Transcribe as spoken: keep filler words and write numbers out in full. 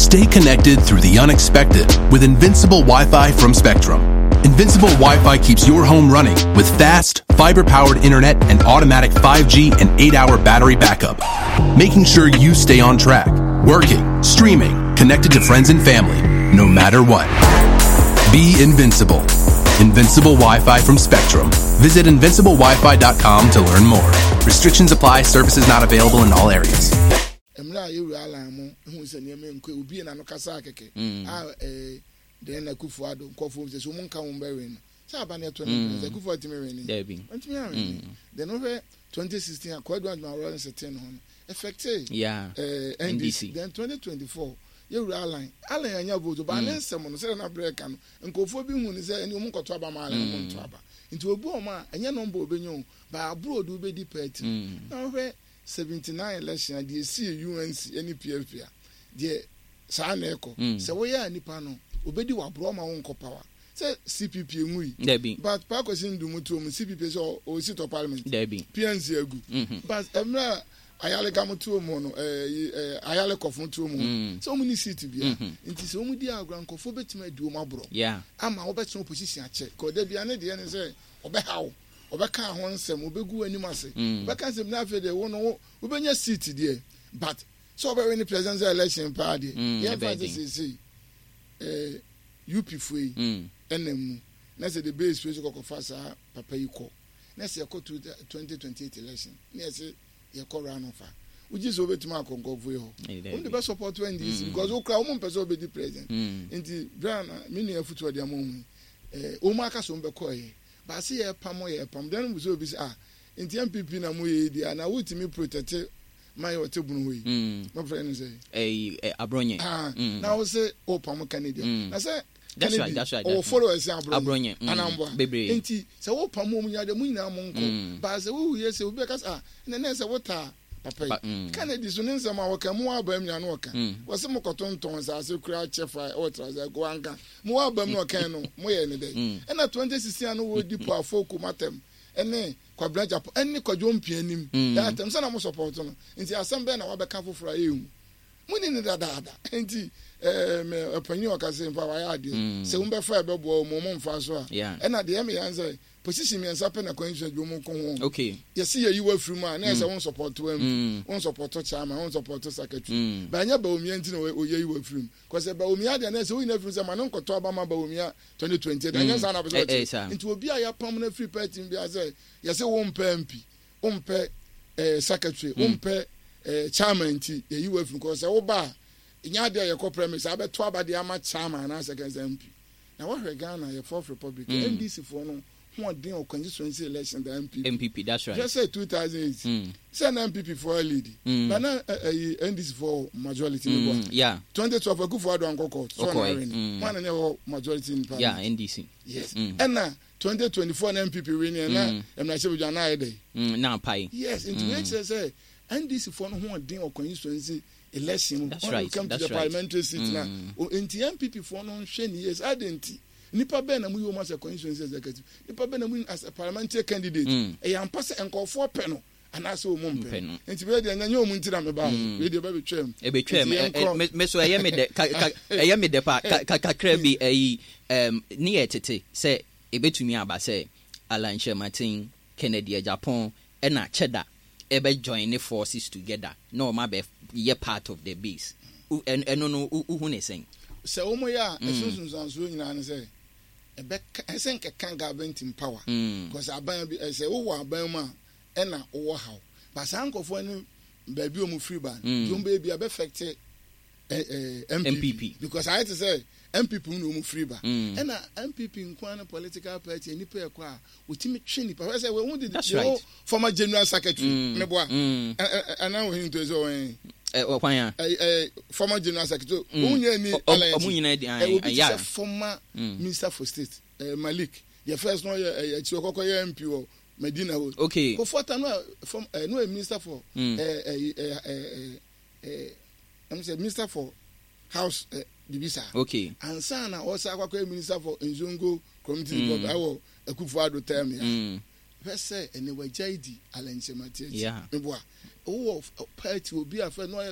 Stay connected through the unexpected with Invincible Wi Fi from Spectrum. Invincible Wi Fi keeps your home running with fast, fiber powered internet and automatic five G and eight hour battery backup, making sure you stay on track, working, streaming, connected to friends and family, no matter what. Be invincible. Invincible Wi Fi from Spectrum. Visit invincible wi fi dot com to learn more. Restrictions apply, services not available in all areas. Mmerɛ a yɛwura Alan mo ehu sɛ nneɛma nkɔ, obi na no kasa kɛkɛ a ɛɛ deɛ na Akufo Addo nkɔfo sɛ so mo nka wɔn bɛwɛ no sɛ aba ne ɛtɔ ne mpɛn sɛ Akufo atumi wɛ ne Dabi. Ɔntumi awɛ ne. Then wohwɛ twenty sixteen a Kwadu Adwuma Lawrence ten ho no effective Yeah. ɛɛ N D C. N D C. Then twenty twenty-four yɛwura Alan Alan anya vote ba ne nsɛm no sɛdeɛ na brɛ ka no, nkurɔfoɔ bi hu ne sɛ ɛne ɔmo nkɔto aba ma Alan, ɔmo nto aba, nti obi wɔn a ɛnyɛ number obɛnya o ba aburo de wobɛdi party. Na wohwɛ seventy-nine election a deɛ esi U N C ɛne P F P a deɛ saa na ɛkɔ sɛ woyɛ a nipa no obɛdi waboro ɔma wo nkɔ power sɛ C P P enwu yi. Dabi. But Paakwesi Nduom tuo mu C P P sɛ ɔsi tɔ parliament. Dabi. P N C agu. But mmerɛ a Ayaleka mo tuo mu no, ɛɛ ɛɛ Ayale kɔfo tuo mu sɛ wɔn ni seat bia, nti sɛ wɔn di agorɔ, nkɔfo bɛtumi adi wɔn aborɔ Yeah. ama wɔbɛtena opposition akyɛ kɔ bia ne deɛ ne sɛ ɔbɛhaw, ɔbɛka ho nsɛm, ɔbɛgu anim ase, ɔbɛka nsɛm na afei deɛ wo no wo wobɛnya seat deɛ, but sɛ ɔbɛwɛ ne presidential election paa deɛ, Mm, yɛmfa ɛbɛyɛ sɛ den. seesei ɛɛ U P foɔ yi Mm. ɛnam mu na sɛ de base wei so kɔkɔfa saa papa yi kɔ na sɛ yɛkɔ twenty twenty eight election na yɛsɛ yɛkɔ runoff a, wogye sɛ wobɛtumi akɔ nkɔfoɔ yi hɔ? Eh, dabi. Wɔn de bɛ support N D C because wokura wɔn mpɛ sɛ wɔbɛdi president. Mm. Nti bere na me nua afutu ɔde ama wɔn yi, ɛɛ wɔn aka so wɔn bɛkɔ yɛ baasi yɛ pam yɛ pam dan mu sɛ obi sɛ, ah, nti N P P na mo yɛ yi deɛ na wotumi protect man yɛ ɔte bunu hɔ yi. Mm. Mo fɛ no sɛ Ɛyi ɛ Abronye. Ah, Mm. na wo sɛ o pam Kennedy Mm. na sɛ That's Kennedy right, that's right, ɔwɔ that's right. followers Abronye. Abronye, mm, anamboa bebree. Nti sɛ wo pam wɔn nyinaa deɛ, mo nyinaa mo nkɔ Mm. baasa wohu yɛ sɛ obi bɛka sɛ, ah, ɛnɛ nɛ sɛ wotaa papa Pa- yi mm. Kennedy so ne nsɛm a wɔka mo wɔ aba mu nyinaa no wɔka Mm. wɔsɛ mo kɔtontɔn nsase kura kyɛ fa ɛwɔ trasa ko wanka mo wɔ aba mu na ɔkan no mo yɛ ne dɛ. Mm. Ɛna twenty sixteen ano wɔdi po afɔ matam ɛne Kwabena Agyapong ɛne Kwadwo Mpia anim Mm. ɛyɛ atɛm sɛ na mo support no, nti asɛm bɛɛ na wabɛka foforɔ a ɛyɛ mo ni ne dadaada. Nti ɛɛ mɛ ɔpanyin a ɔka sɛ mfa wayɛ adeɛ Mm. sɛ wɔn bɛfa ɛbɛboa wɔn, wɔn mfa so a Yeah. ɛna deɛ ɛmɛ yan sɛ position mmiɛnsa pɛ na kwan sua dwom ko ho. Okay. Yɛsi yɛ yi wa firi mu a na yɛ sɛ wɔn support wɔn Mm. wɔn support chairman, wɔn support secretary. Mm. Bɛnyɛ Bawumia nti na oyɛ yi wa firi mu kɔsɛ Bawumia deɛ na yɛ sɛ woyi na firi mu sɛ ma ne nkɔtɔ aba ma Bawumia twenty twenty, ɛnyɛ saa na bɛ Eh, sɛ eh, saa. ɔkyɛ. Nti obi a yɛapam no afiri party mu bi a sɛ yɛsɛ wɔn mpɛ M P, wɔn mpɛ ɛɛ secretary, wɔn mpɛ ɛɛ chairman, nti yɛyi wa firi mu kɔsɛ woba a nyɛ adeɛ a yɛkɔ premise abɛto aba deɛ ama chairman anaasɛ kɛnsɛ M P. Na wɔhwɛ Ghana yɛ Fourth Republic, Mm. N D C foɔ no hoɔden wɔ constituency election da N P P. N P P, that's right. Hwɛ sɛ two thousand eight Mm. sɛ na N P P foɔ lead Mm. na na ɛyi N D C foɔ majority ne Mm. bɔ. Yeah. twenty twelve Akufo Addo ankɔ court so Ɔkɔe. ɔna win. Mm. Wɔn na ne wɔ majority in Yeah, parliament. N D C. Yes. Mm. Ɛna twenty twenty-four na N P P win yɛ na Mm. mmarahyɛ badwa na ayɛ dɛ. Mm. Na apae. Yes, nti wei kyerɛ sɛ N D C foɔ no hoɔden wɔ constituency election mu That's when right, it come to that's the right. parliamentary seat na Mm. o- nti N P P foɔ no nhwɛ ne yie saa de. Nti nipa bɛɛ na mu yi wɔn as a constituency executive, nipa bɛɛ na mu yi as a parliamentary candidate, Mm. ɛyɛ ampa sɛ nkɔfoɔ pɛ no anaasɛ wɔn Mpɛ mpɛ no. no. Nti wei deɛ nyɛ wɔn nti na mɛ ba, Mm. wei deɛ bɛ bɛ twɛm. Ebetwam. Nti yɛnkɔ. Me so ɛyɛ me dɛ ka ka ɛyɛ me dɛ pa ka ka kakra bi. Ɛyi ɛm ne yɛ tete sɛ ebetumi aba sɛ Alan Kyerematen, Kennedy Agyapong ɛna Cheddar ɛbɛ join ne forces together na ɔmo abɛ yɛ part of the base. Wo- ɛno ɛno no wo- wohu ne sɛn? Sɛ wɔn yɛ a, Mm. ɛso nsonsansoɔ nyinaa ne sɛ ɛbɛka ɛsɛ nkɛka government in power Mm. because aban bi ɛsɛ wowɔ aban mu a ɛna wowɔ haw ba saa nkɔfoɔ ne baabi a wɔn firi ba no Mm. deɛ wɔn bɛyɛ bi abɛfɛkte ɛ ɛ N P P, N P P. because ayɛ te sɛ N P P mu na wɔn firi ba. Mm. Ɛna N P P nkoa ne political party nipa ɛkɔ a wɔtumi twe nipa fɛ sɛ wɔn de That's the whole right. former general secretary Mm. meboa Mm. ɛ ɛ ɛna wɔn hin to sɛ wɔn Ɛ ɔkwan a ɛ ɛ former general secretary Mm. wɔn nyɛ ni Ɔ- ɔ- Alan ɔmo nyinaa di ɛ obi ti yeah. sɛ former Mm. minister for state ɛ Malik, the first no yɛ ɛ akyi ɔkɔkɔ yɛ M P wɔ Medina hɔ. Okay. Kofoɔ ta no a form ɛ no yɛ minister for Mm. ɛ ɛ ɛ ɛ ɛ ɛm sɛ minister for house ɛ bibi saa Okay. ansa na ɔsa akɔkɔ yɛ minister for Nzongo Community Mm. Development ɛwɔ Akufo Addo term ya. Mm. Hwɛ sɛ ɛnɛ wagya yi di Alan Kyerematen akyi. Yeah. Meboa wowɔ party obi a fɛ no ɔyɛ